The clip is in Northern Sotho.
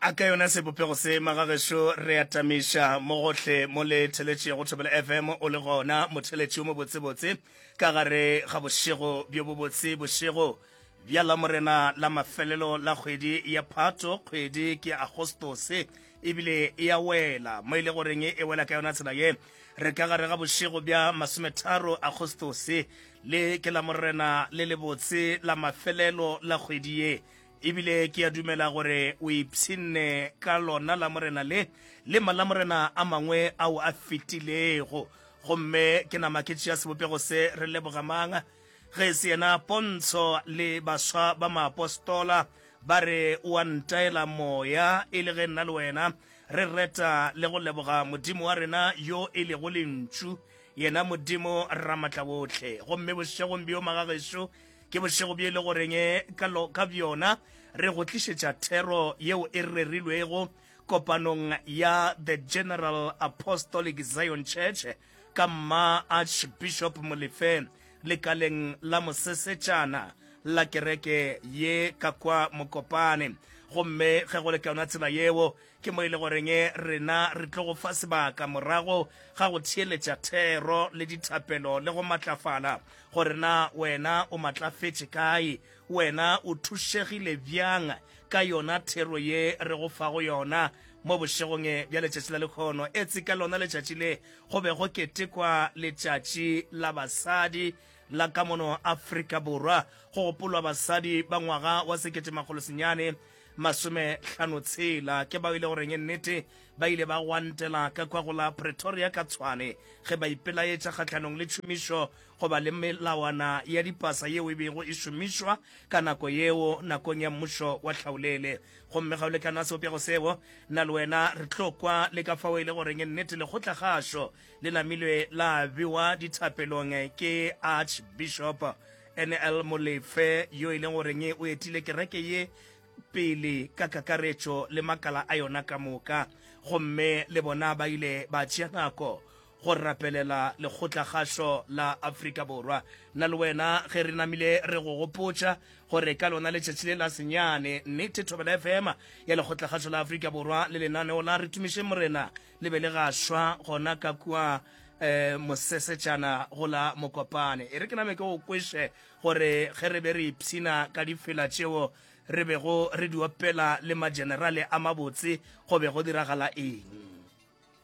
A ka yona sebopego se, magagešo, re atamiša mo gohle mo le theletšego Thobela FM o le gona, motheletši o mobotsebotse, ka gare ga bošego bjo bobotse, bošego bja Lamorena la mafelelo la kgwedi ya Phato, kgwedi ke Agostose, ebile e a wela mo e le goreng e wela ka yona tsela ye. Re ka gare ga bošego bja masometharo Agostose, le ke Lamorena le lebotse la mafelelo la kgwedi ye. Ebile ke a dumela gore o ipshinne ka lona Lamorena le, le Malamorena a mangwe ao a fetilego. Gomme ke nama ke tšea sebopego se, re leboga mang ge e se yena Pontsho le baswa ba maapostola ba re o a ntaela moya, e le ge nna le wena re reta le go leboga Modimo wa rena yo e lego Lentšu, yena Modimo Ramatlawohle. Gomme bošegong bjo, magagešo, Ke bošego bjo e le goreng ka, ka bjona re go tlišetša thero yeo e rerilwego kopanong ya The General Apostolic Zion Church ka Mma Archbishop Molefe lekaleng la mosesetšana la kereke ye ka kwa Mokopane. Gomme ge go le ka yona tsela yeo, Ke mo e le goreng rena re tlo go fa sebaka morago ga go theeletša thero le dithapelo le go matlafala, gore na wena o matlafetše kae, wena o thušegile bjang ka yona thero ye re go fago yona mo bošegong bja letšatši la lekhono. Etse ka lona letšatši le go be go ketekwa Letšatši la Basadi la ka mono Afrika Borwa, go gopolwa basadi ba ngwaga wa 19 56 ke bao e le goreng nnete ba ile ba gwantela ka kwa go la Pretoria ka Tshwane ge ba ipelaetša kgahlanong le tšhomišo goba le melawana ya dipasa yeo e bego e šomišwa ka nako yeo nakong ya mmušo wa tlhaolele. Gomme ga o lekana sebopego seo, nna le wena re tlo kwa le ka fao e le goreng nnete lekgotlakgašo le namilwe la bewa dithapelong ke Archbishop NL Molefe yo e leng goreng o etile kereke ye pele ka kakaretšo le makala a yona ka moka, gomme le bona ba ile ba tšea nako go rapelela lekgotlakgašo la Afrika Borwa. Nna le wena ge re namile re go gopotša gore ka lona letšatši le la senyane, nnete Thobela FM ya lekgotlakgašo la Afrika Borwa le lenaneo la Re Tumišeng Morena le be le gašwa gona ka kua um mosesetšana go la Mokopane. E re ke name ke go kweše gore ge re be re ipshina ka difela tšeo re bego re di opela le magenerale a mabotse go be go diragala eng.